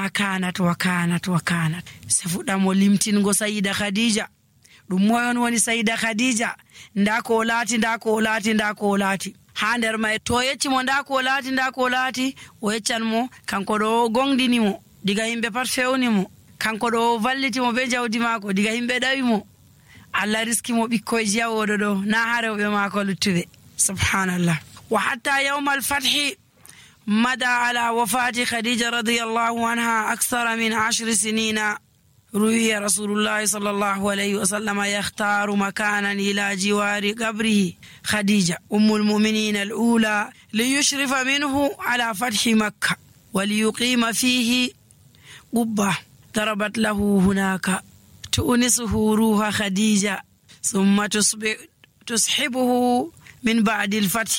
ma kanat wa kanat wa kanat. Se fuɗɗamo limtingo Sayyida Khadija. Ɗum moyon woni Sayyida Khadija? Nda ko laati, nda ko laati, nda ko laati. Ha nder may to yeccimo nda ko laati, nda ko laati, o yeccan mo kanko ɗo gongdini mo diga himɓe pat fewni mo, kanko ɗo valliti mo be jawdi maako diga himɓe ɗawi mo, Allah riski mo ɓikkoyji yawoɗo ɗo na ha rewɓe maako luttuɓe. Subhanallah. Wa hatta yawmal fathi مدى على وفاة خديجة رضي الله عنها أكثر من 10 سنين. روي رسول الله صلى الله عليه وسلم يختار مكانا إلى جوار قبره خديجة أم المؤمنين الأولى ليشرف منه على فتح مكة وليقيم فيه قبة ضربت له هناك تؤنسه روح خديجة ثم تصحبه من بعد الفتح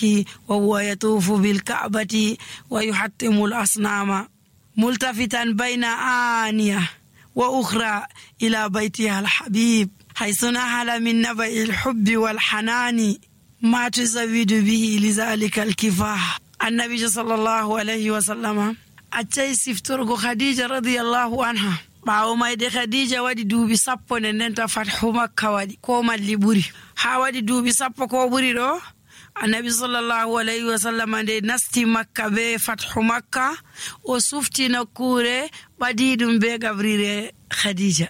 وهو يطوف بالكعبة ويحطم الأصنام ملتفتا بين آنية وأخرى إلى بيتها الحبيب حيث نهل من نبأ الحب والحنان ما تزود به لذلك الكفاح. النبي صلى الله عليه وسلم أتي سفترغ خديجة رضي الله عنها ɓaawo mayde Khadija waɗi duuɓi 10 nden ndenta fathu Makka waɗi ko malli ɓuri ha waɗi duuɓi 10 ko ɓuri ɗo. Annabi sallallahu alayhi wa sallam nde nasti Makka be fathu Makka o sufti nokkure ɓadiɗum be gabrire Khadija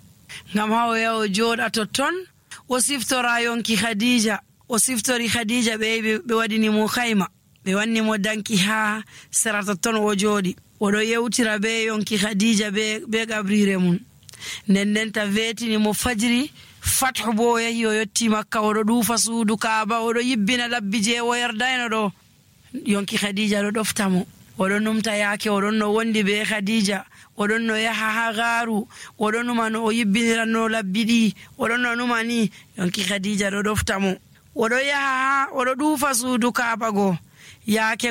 ngam ha o yaha o jooɗa totton o siftora yonki Khadija. O siftori Khadija ɓe waɗini mo kayma, ɓe wanni mo danki ha sera totton o jooɗi oɗo yewtira be yonki Khadija be gabrire mum. Ndendenta vetini mo fajiri fathu bo o yahi o yotti Makka oɗo ɗuufa suudu Kaaba oɗo yibbina labbi je o yardayno ɗo. Yonki Khadija ɗo ɗofta mo oɗon numta yaake oɗon no wondi be Khadija, oɗon no yaha ha gaaru, oɗon numa no o yibbiniranno labbi ɗi, oɗon no numa ni. Yonki Khadija ɗo ɗofta mo oɗo yaha ha oɗo ɗuufa suudu Kaaba go yaake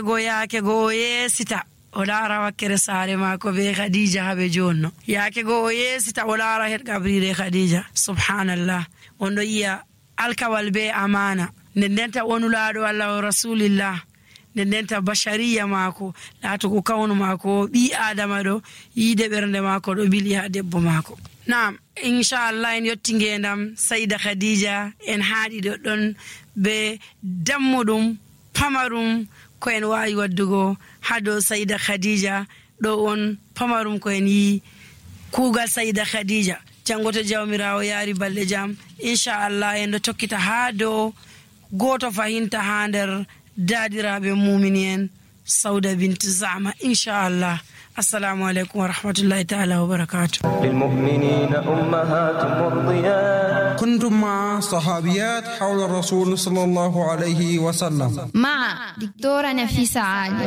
go o yeesita o laara wakkere saare maako be Khadija habe jonno. Yaake go o yeesita o laara het gabrire Khadija. Subhanallah. On ɗo yiya alkawal be amana ndendenta wonulaaɗo Allah o rasulillah, ndendenta bashariya maako laatugo kawnu maako ɓi adama ɗo yiide ɓernde maako ɗo bili ha debbo maako. Naam, inchallah en yetti ngendam Sayyida Khadija en haaɗi ɗon be dammuɗum pamarum ko en waawi waddugo ha dow Sayyida Khadija. ɗo on pamarum ko en yi kuugal Sayyida Khadija. Jango to jawmirawo yaari balɗe jam inchallah en ɗo tokkita ha dow goto fahinta ha nder daadiraɓe mumini en Sauda bint Zama inchallah. Assalamu alaikum wa rahmatullahi ta'ala wa barakatuh. للمؤمنين أمهات مرضيات. كنتم مع صحابيات حول الرسول صلى الله عليه وسلم مع دكتورة نفيسة عادل.